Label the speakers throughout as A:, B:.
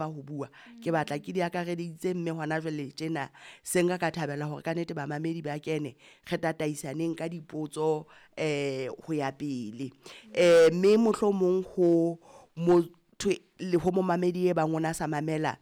A: ho bua ke batla ke di akareditse mme hona jwale tjena se nka ka thabela hore ka nnete bamamedi ba kene re tataisaneng ka dipotso ho ya pele. Mme mohlomong ho motho le ho momamedi e bang o na sa mamela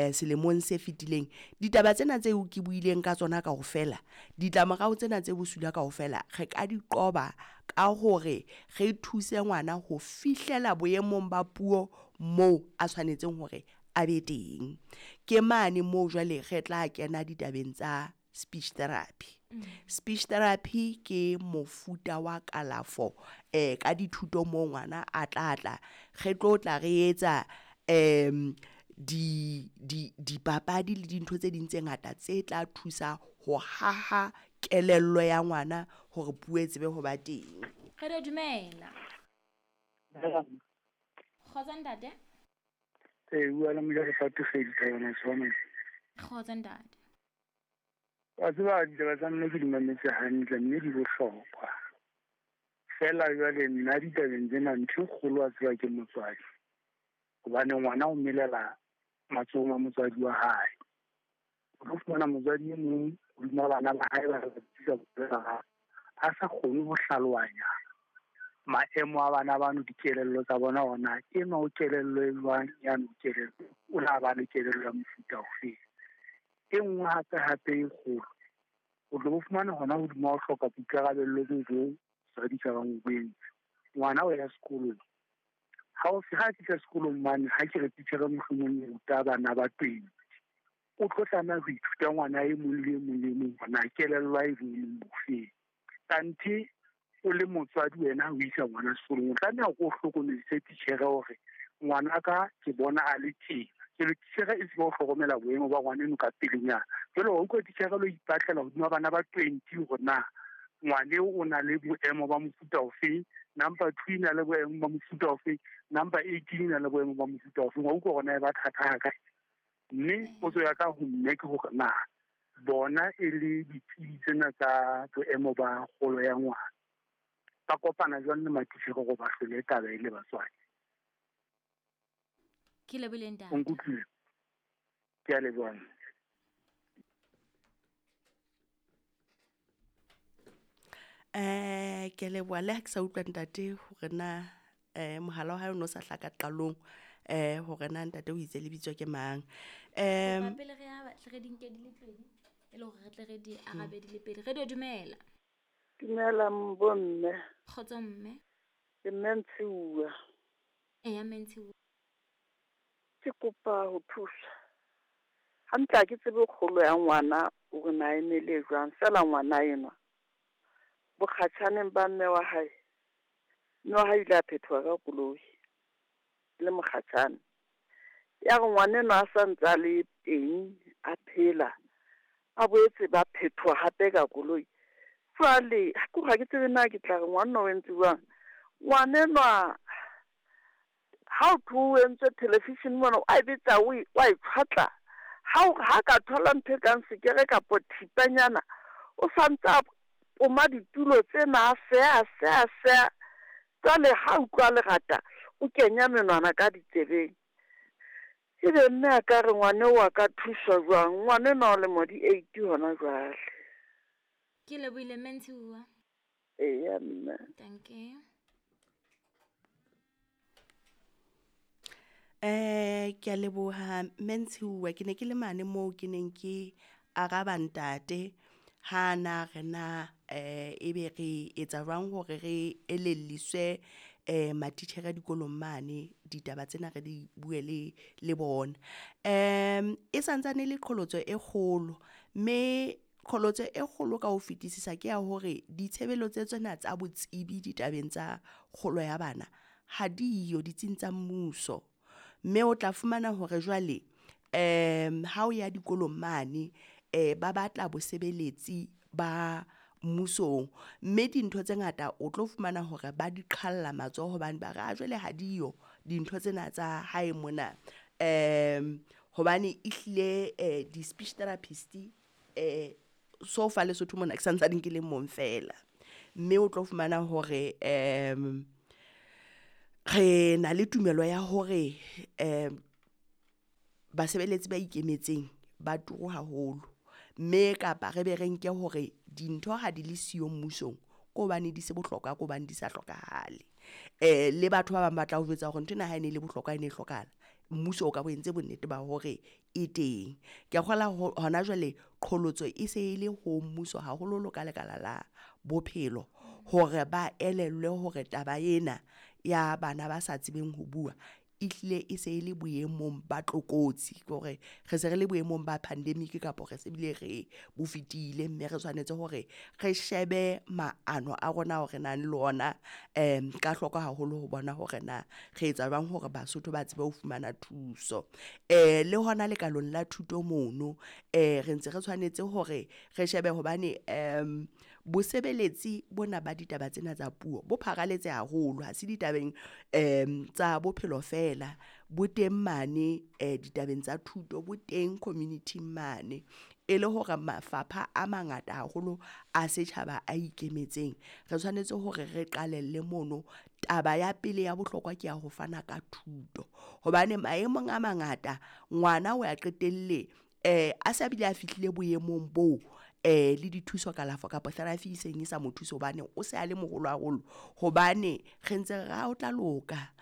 A: selemong se fetileng, ditaba tsena tseo ke buileng ka tsona kaofela, ditlamorao tsena tse bosula kaofela re ka di qoba ka hore re thuse ngwana ho fihlela boemong ba puo moo a tshwanetseng hore a be teng. Ke mane moo jwale re tla kena ditabeng tsa speech therapy. Speech therapy ke mofuta wa kalafo ka dithuto moo ngwana a tla tla re tlo tla re etsa di di dipapadi le dintho tse ding tse ngata tse tla thusa ho haha kelello ya ngwana hore puo e tsebe ho ba teng.
B: Re dumela. Kgotso ntate.
C: Ee, bua le Mojalefa Tefedi Thabana Tshwane.
B: Kgotso ntate.
C: Wa tseba ditaba tsa mme ke di mametse hantle mme di bohlokwa. Feela jwale nna ditabeng tsena ntho e kgolo wa tseba ke motswadi. Hobane ngwana o melela matsohong a motswadi wa hae. O tlo fumana motswadi e mong hodima bana ba hae ba ba a sa kgone ho hlalohanya maemo a bana bano, dikelello tsa bona hore na enwa o kelello e jwang, yane o kelello, o na ba le kelello ya mofuta ofeng. E nngwe hape hape e kgolo, o tlo bo fumana hona hodima ho hloka boikarabello bo bo motswadi ka bang o bo entse. Ngwana o ya sekolong, ha o ha fihla sekolong mane, ha ke re titjhere mohlomong e ruta bana ba 20, o tlo tlameha ho ithuta ngwana e mong le e mong le e mong hore na kelello ya hae e boemong bofeng. Kanthe o le motswadi wena o isa ngwana sekolong, o tlameha o hlokomedise titjhere hore ngwana ka ke bona a le tjena. Jwale titjhere e tsebe ho hlokomela boemo ba ngwana eno ka pelenyana. Jwale wa utlwa titjhere lo ipatlela hodima bana ba 20 hore na ngwane o na le boemo ba mofuta ofeng, number 2 e na le boemo ba mofuta ofeng, number 18 e na le boemo ba mofuta ofeng. Wa utlwa hore na e ba thata ha kae. Mme potso ya ka ho mme ke hore na bona e le ditsebi tsena tsa boemo ba kgolo ya ngwana, ba kopana jwang le matitjhere hore ba hlole taba e le batswadi?
B: Ke lebohile ntate.
C: O nkutlwile? Ke a leboha.
A: Ke leboha le ha ke sa utlwa ntate hore na mohala wa hae o no sa hlaka qalong hore na ntate o itse lebitso ke mang.
B: Pele re ya re di nke di le pedi e le hore re tle re di arabe di le pedi. Radio dumela.
D: Dumela bomme.
B: Kgotso mme.
D: Ke mme Ntshiuwa.
B: Eya mme Ntshiuwa.
D: Ke kopa ho thusa. Hantle ha ke tsebe kgolo ya ngwana hore na e mele jwang, feela ngwana enwa bokgatjhaneng ba mme wa hae, mme wa hae ile a phethoha ka koloi le mokgatjhane. Ya re ngwana enwa a sa ntse a le teng a phela, a boetse ba phethoha hape ka koloi. Jwale ke hore ha ke tsebe na ke tla re ngwanenwa o entse jwang. Ngwanenwa ha o thwe o entswe television mona, a e betsa o e tshwatla. Ha ka thola ntho e kang sekere kapo thipanyana, o sa ntse a poma ditulo tsena, a seha, seha, seha. Jwale ha utlwa lerata, o kenya menwana ka ditsebeng. Ebe mme a ka re ngwane wa ka thuswa jwang? Ngwanenwa o lemo di 8 hona jwale.
B: Ke lebohile mme Ntshiuwa.
D: Eya mme.
B: Thank you.
A: Ke a leboha mme Ntshiuwa. Ke ne ke le mane moo ke neng ke araba ntate ha na re na ebe re etsa jwang hore re elelliswe matitjhere dikolong mane ditaba tsena re di bue le bona. E santsane le qholotso e kgolo, mme qholotso e kgolo ka ho fetisisa ke ya hore ditshebeletso tsena tsa botsebi ditabeng tsa kgolo ya bana ha diyo ditsing tsa mmuso. Mme o tla fumana hore jwale ha o ya dikolong mane ba batla bosebeletsi ba mmusong, mme dintho tse ngata o tlo fumana hore ba di qhalla matsoho hobane ba re a jwale ha diyo dintho tsena tsa hae mona. Hobane ehlile di-speech therapist so fa Lesotho mona ke santsane ke le mong fela. Mme o tlo fumana hore re na le tumelo ya hore Basebeletsi ba ikemetseng ba turu haholo, mme kapa re be re nke hore dintho ha di le siyo mmusong ke hobane di se bohlokwa, ke hobane di sa hlokahale. Le batho ba bang ba tla o jwetsa hore nthwena ha e ne e le bohlokwa, e ne e hlokahala, mmuso o ka bo entse bonnete ba hore e teng. Kea kgola hona jwale qholotso e se e le ho mmuso haholoholo ka lekala la bophelo hore ba elellwe hore taba ena ya bana ba sa tsebeng ho bua ehlile e se e le boemong ba tlokotsi, ke hore re se re le boemong ba pandemic kapo re se bile re bo fetile, mme re tshwanetse hore re shebe maano a rona ao re nang le ona ka hloko haholo ho bona hore na re etsa jwang hore Basotho ba tsebe ho fumana thuso. Le hona lekaleng la thuto mono re ntse re tshwanetse hore re shebe hobane bosebeletsi bona ba ditaba tsena tsa puo bo pharaletse haholo, ha se ditabeng tsa bophelo feela, bo teng mane ditabeng tsa thuto, bo teng community-ing mane. E le hore mafapha a mangata haholo a setjhaba a ikemetseng, re tshwanetse hore re qalelle mono. Taba ya pele ya bohlokwa ke ya ho fana ka thuto, hobane maemong a mangata ngwana o ya qetelle a sa bile a fihlile boemong boo le dithuso kalafo kapa therapy e seng e sa mo thuse hobane o se a le moholo haholo, hobane re ntse re re o tla loka.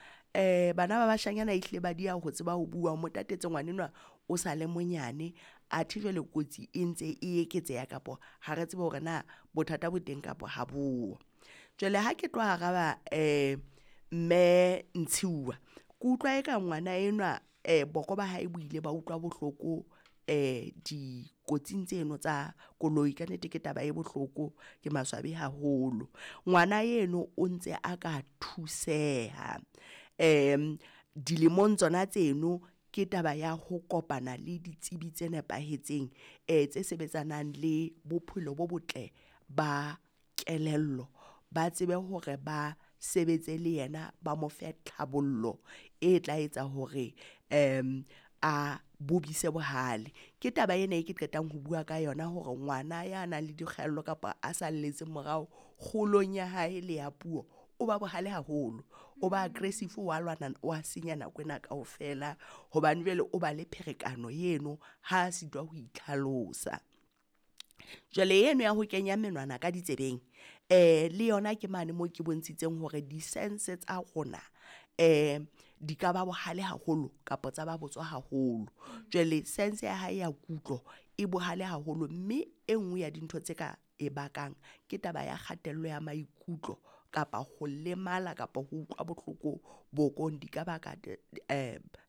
A: Bana ba bashanyana ehlile ba dieha ho tseba ho bua, o mo tatetse ngwanenwa o sa le monyane, athe jwale kotsi e ntse e eketseha kapo ha re tsebe hore na bothata bo teng kapa ha boyo. Jwale ha ke tlo araba mme Ntshiuwa, ke utlwa eka ngwana enwa boko ba hae bo ile ba utlwa bohloko dikotsing tseno tsa koloi. Ka nnete ke taba e bohloko, ke maswabi haholo. Ngwana eno o ntse a ka thuseha dilemong tsona tseno ke taba ya ho kopana le ditsebi tse nepahetseng tse sebetsanang le bophelo bo botle ba kelello, ba tsebe hore ba sebetse le yena, ba mo fe tlhabollo e tla etsa hore a bobise bohale. Ke taba ena e ke qetang ho bua ka yona hore ngwana ya nang le dikgaello kapa a salletseng morao kgolong ya hae le ya puo, o ba bohale haholo, o ba aggressive, wa lwana, wa senya nako ena kaofela hobane jwale o ba le pherekano eno ha sitwa ho itlhalosa. Jwale eno ya ho kenya menwana ka ditsebeng le yona ke mane moo ke bontshitseng hore di-sense tsa rona di ka ba bohale haholo kapa tsa ba botswa haholo. Jwale sense ya hae ya kutlo e bohale haholo, mme e nngwe ya dintho tse ka e bakang ke taba ya kgatello ya maikutlo kapa ho lemala kapa ho utlwa bohloko bokong di ka baka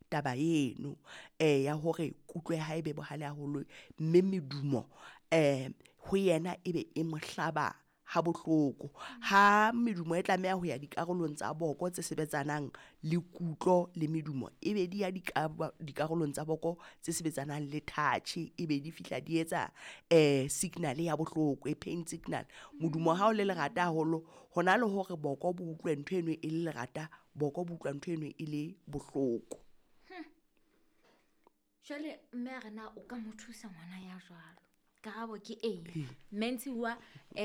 A: taba eno ya hore kutlo ya hae e be bohale haholo, mme medumo ho yena ebe e mo hlaba ha bohloko. Ha medumo e tlameha ho ya dikarolong tsa boko tse sebetsanang le kutlo le medumo, ebe di ya dikarolong tsa boko tse sebetsanang le touch, ebe di fihla di etsa signal ya bohloko, e pain signal. Modumo ha o le lerata haholo, hona le hore boko bo utlwe ntho eno e le lerata, boko bo utlwa ntho eno e le bohloko.
B: Jwale mme a re na o ka mo thusa ngwana ya jwalo? Karabo ke ee. Mme Ntshiuwa,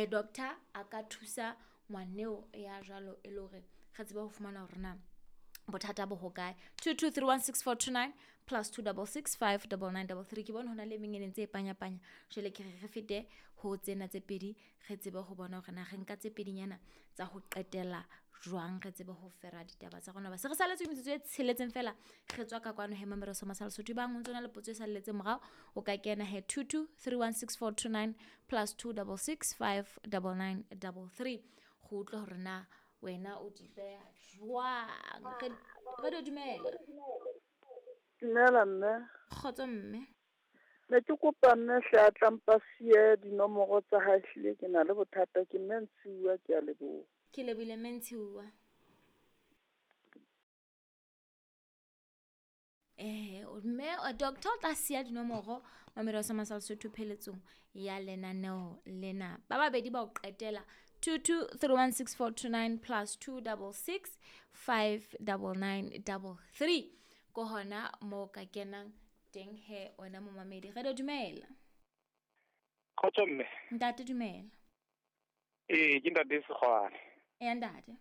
B: doctor a ka thusa ngwaneo ya jwalo e le hore re tsebe ho fumana hore na bothata bo hokae. 22316429 plus 266 59933. Ke bone hona le e meng e ne ntse e panya-panya, jwale ke re re fete ho tsena tse pedi, re tsebe ho bona hore na re nka tse pedinyana tsa ho qetela jwang, re tsebe ho fera ditaba tsa rona. Ba se re saletswe metsotso e tsheletseng fela, re tswa ka kwano he Mamelo sa Masala Sotho. Bang o ntso na le potso e salletseng morao, o ka kena he 22316429 plus 266 59933 go utlwa hore na wena o di beha jwang. Radio, dumela.
D: Dumela mme.
B: Kgotso mme.
D: Ne ke kopa mme hle a tlampa siye dinomoro tsa hae, hlile ke na le bothata. Ke mme Ntshiuwa, ke a leboha.
B: Ke lebohile mme Ntshiuwa. Mme doctor o tla siya dinomoro Mamelo sa Masala Sotho pheletsong ya lenaneo lena. Ba babedi ba o qetela, 22316429 plus 266 59933, ko hona mo ka kenang teng he wena momamedi. Radio, dumela.
E: Kgotso mme.
B: Ntate, dumela.
E: Ee, ke ntate Sekgwane.
B: Eya ntate.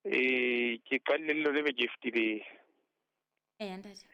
E: Ee, ke qadile le lone beke e fetileng.
B: Eya ntate.